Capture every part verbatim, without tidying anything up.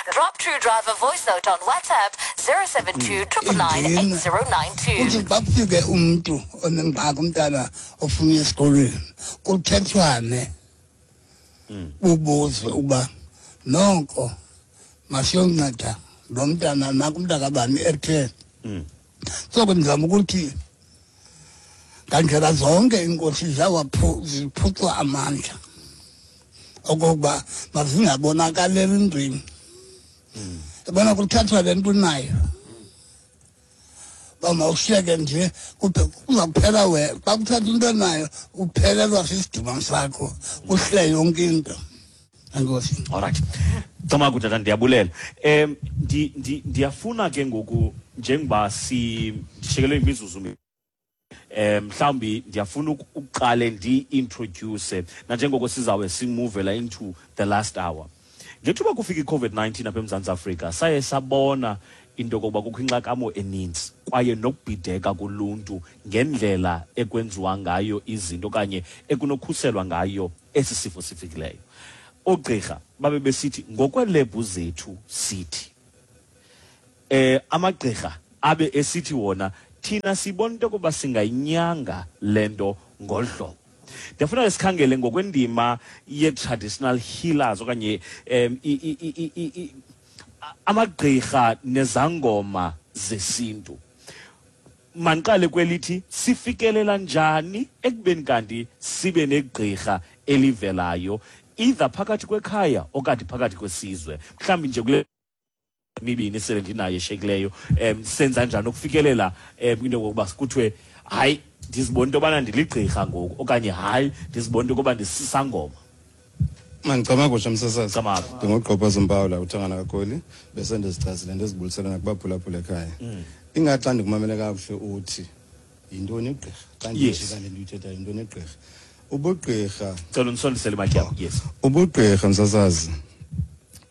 Drop True Driver voice note on WhatsApp zero seven two triple nine eight zero nine two. Kuthi xa kufike umntu onengxaki, umntana ofuna esikolweni, kuthethwane, kubuzwe uba noko masiyonceda lo mntana nakumntakabani ethe. So ke ndizama ukuthi ngandlela zonke iinkosi ziyawaphu-, ziphucwa amandla okokuba mazingabonakaleli entweni. Yabona kuthathwa le nto unayo, uba mawushiyeke nje, kuphe-, kuza kuphela wena. Xa kuthathwa into onayo uphelelwa sisidima sakho, kuhle yonke into. Enkosi. All right. Camagu tata, ndiyabulela. Em, ndi-, ndi-, ndiyafuna ke ngoku njengoba si-, ndishikelwe imizuzu mi-, em, mhlawumbi ndiyafuna uku-, ukuqale ndi-introduce nanjengoko sizawube simuvela into the last hour. Ngethuba kufika i-COVID nineteen apha eMzantsi Afrika, saye sabona into yokokuba kukho inxakamo eninzi kwaye nokubhideka kuluntu ngendlela ekwenziwa ngayo izinto okanye ekunokhuselwa ngayo esi sifo sifikileyo. Oogqirha babe besithi ngokweelebhu zethu sithi, eh, amagqirha abe esithi wona thina sibona into yokuba singayinyanga le nto ngolu hlobo. Ndiyafuna ke sikhangele ngokwendima ye-traditional healers okanye, em, i-, i-, i-, i-, i-, i-, amagqirha nezangoma zesintu. Mandiqale kwelithi sifikelela njani ekubeni kanti sibe negqirha elivelayo either phakathi kwekhaya okanye phakathi kwesizwe, mhlawumbi nje kule mibini sele ndinayo eshekileyo, em, senza njani ukufikelela, em, into yokokuba kuthiwe hayi ndizibona into yobana ndiligqirha ngoku okanye hayi ndizibona into yokuba ndisisangoma. Mandicama kutsha msasazi. Cama. Ndingugqobhoza uMpawula uthangana kaGoli, bese ndizichazile ndizibulisela nakubaphulaphula ekhaya. Mm. Ingathi xa ndikumamele kakuhle uthi yintoni igqirha? Xa Yes. ndijika le nto uyithethayo, yintoni igqirha? Ubugqirha. Cela undisondisele imayikhi yakho. Yes. Ubugqirha msasazi,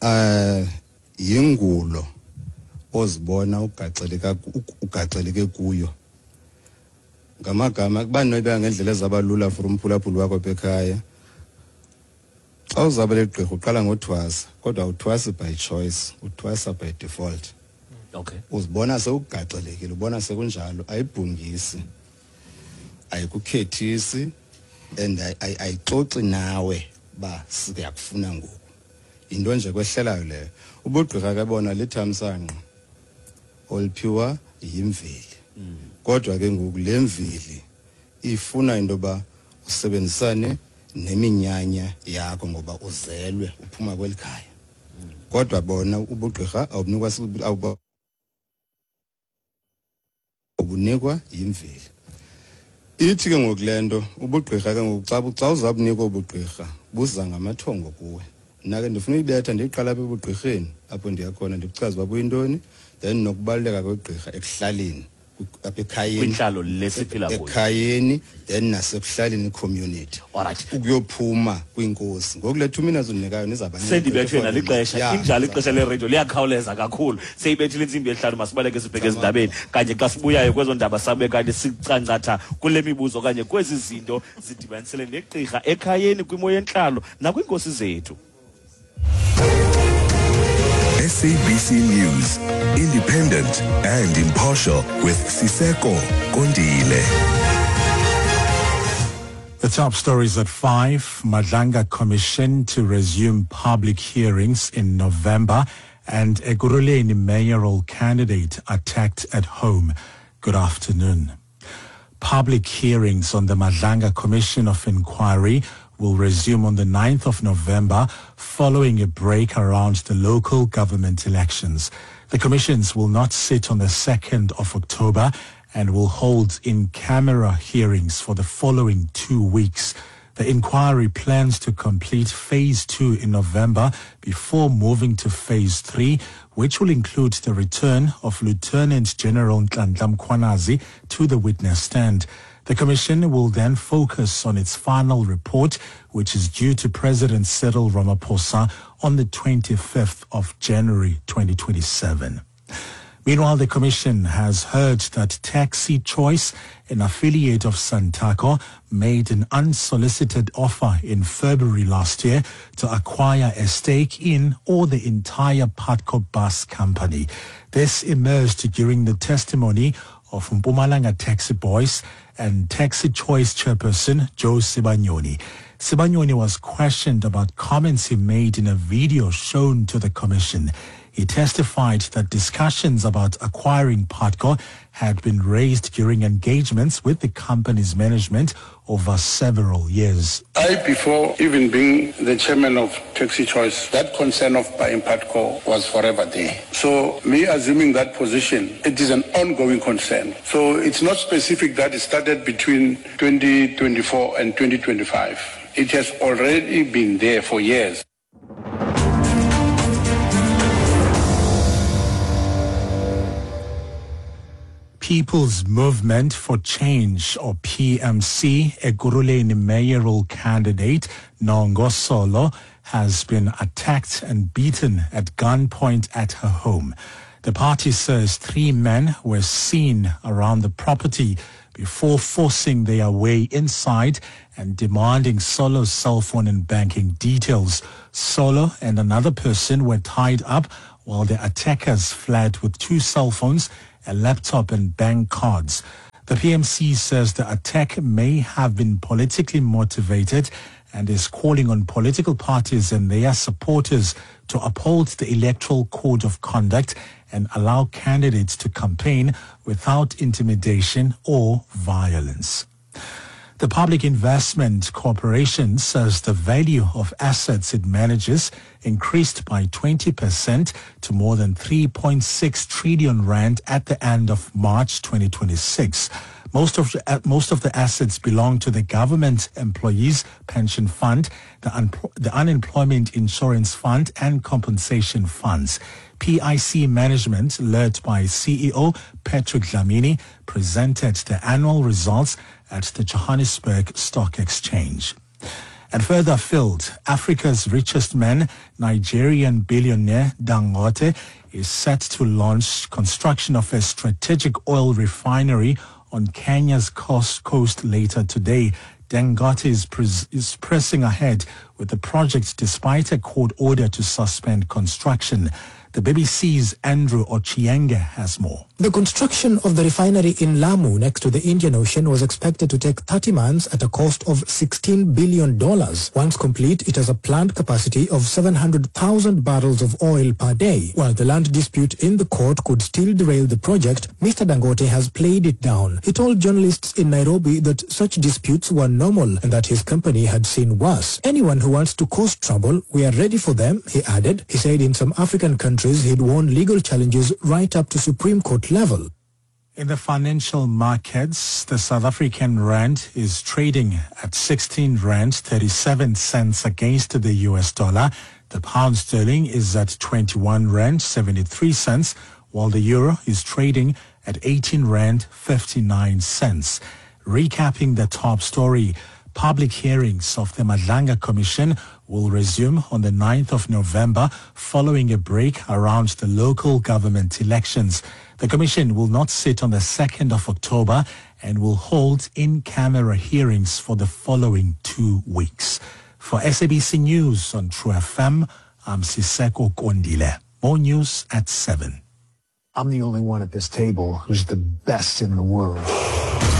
eh, yingulo ozibona ugaxeleka, ugaxeleke kuyo. Ngamagama kuba noyibeka ngendlela ezabalula for umphulaphuli wakho apha ekhaya. Xa uzawube ligqirha uqala ngothwasa, kodwa awuthwasi by choice, uthwasa by default. Okay. Uzibona sewugaxelekile, ubona sekunjalo, ayibhungisi, ayikukhethisi, and ay-, ay-, ayixoxi nawe ba siyakufuna ngoku. Yinto nje kwehlelayo leyo. Ubugqirha ke bona lithamsanqa oluphiwa yimveli. Mm. Kodwa ke ngoku le mveli ifuna into yoba usebenzisane neminyanya yakho ngoba uzelwe uphuma kweli khaya. Mm. Kodwa bona ubugqirha awubunikwa si-, awuba-, ubunikwa yimveli. Ithi ke ngoku le nto ubugqirha ke ngoku xa bu-, xa uzabunikwa ubugqirha buza ngamathongo kuwe. Mna ke ndifuna uyibetha ndiyiqala apha ebugqirheni apho ndiya khona ndikuchaze uba buyintoni, then nokubaluleka kwegqirha ekuhlaleni, apha ekhayeni. Kwintlalo le siphila kuyo. Ekhayeni, then nasekuhlaleni community. All right. Ukuyophuma kwinkosi. Ngoku le two minutes undinikayo nizawuba nento Sendibethwe efana nalixesha. Yeah. Injalo ixesha leradio liyakhawuleza kakhulu. Seyibethile intsimbi yesihlanu, masibaleke sibheke Tamam. ezindabeni. Kanye xa sibuyayo kwezo ndaba sabe kanti sicancatha kule mibuzo okanye kwezi zinto zidibanisele negqirha ekhayeni, kwimo yentlalo nakwiinkosi zethu. S A B C News, independent and impartial with Siseko Kondile. The top stories at five. Madlanga Commission to resume public hearings in November, and Ekurhuleni mayoral candidate attacked at home. Good afternoon. Public hearings on the Madlanga Commission of Inquiry will resume on the ninth of November following a break around the local government elections. The commissions will not sit on the second of October and will hold in-camera hearings for the following two weeks. The inquiry plans to complete phase two in November before moving to phase three, which will include the return of Lieutenant General Nhlanhla Mkhwanazi to the witness stand. The commission will then focus on its final report, which is due to President Cyril Ramaphosa on the twenty-fifth of January twenty twenty-seven. Meanwhile, the commission has heard that Taxi Choice, an affiliate of Santaco, made an unsolicited offer in February last year to acquire a stake in or the entire Putco bus company. This emerged during the testimony of Mpumalanga Taxi Boys and Taxi Choice chairperson Joe Sibanyoni. Sibanyoni was questioned about comments he made in a video shown to the commission. He testified that discussions about acquiring Putco had been raised during engagements with the company's management over several years. I, before even being the chairman of Taxi Choice, that concern of buying Putco was forever there. So me assuming that position, it is an ongoing concern. So it's not specific that it started between twenty twenty-four and twenty twenty-five. It has already been there for years. People's Movement for Change, or P M C, Ekurhuleni mayoral candidate Nhongo Solo has been attacked and beaten at gunpoint at her home. The party says three men were seen around the property before forcing their way inside and demanding Solo's cell phone and banking details. Solo and another person were tied up while the attackers fled with two cell phones, a laptop and bank cards. The P M C says the attack may have been politically motivated and is calling on political parties and their supporters to uphold the Electoral Code of Conduct and allow candidates to campaign without intimidation or violence. The Public Investment Corporation says the value of assets it manages increased by twenty percent to more than three point six trillion rand at the end of March twenty twenty-six. Most of the, uh, most of the assets belong to the Government Employees Pension Fund, the, un- the Unemployment Insurance Fund and Compensation Funds. P I C Management, led by C E O Patrick Dlamini, presented the annual results at the Johannesburg Stock Exchange. And further afield, Africa's richest man, Nigerian billionaire Dangote, is set to launch construction of a strategic oil refinery on Kenya's coast, coast later today. Dangote is, pres- is pressing ahead with the project despite a court order to suspend construction. The B B C's Andrew Ochienge has more. The construction of the refinery in Lamu next to the Indian Ocean was expected to take thirty months at a cost of sixteen billion dollars. Once complete, it has a planned capacity of seven hundred thousand barrels of oil per day. While the land dispute in the court could still derail the project, Mister Dangote has played it down. He told journalists in Nairobi that such disputes were normal and that his company had seen worse. Anyone who wants to cause trouble, we are ready for them, he added. He said in some African countries, he'd won legal challenges right up to Supreme Court level. In the financial markets, the South African rand is trading at sixteen rand thirty-seven cents against the U S dollar. The pound sterling is at twenty-one rand seventy-three cents, while the euro is trading at eighteen rand fifty-nine cents. Recapping the top story, public hearings of the Madlanga Commission will resume on the ninth of November following a break around the local government elections. The Commission will not sit on the second of October and will hold in-camera hearings for the following two weeks. For S A B C News on True F M, I'm Siseko Kondile. More news at seven. I'm the only one at this table who's the best in the world.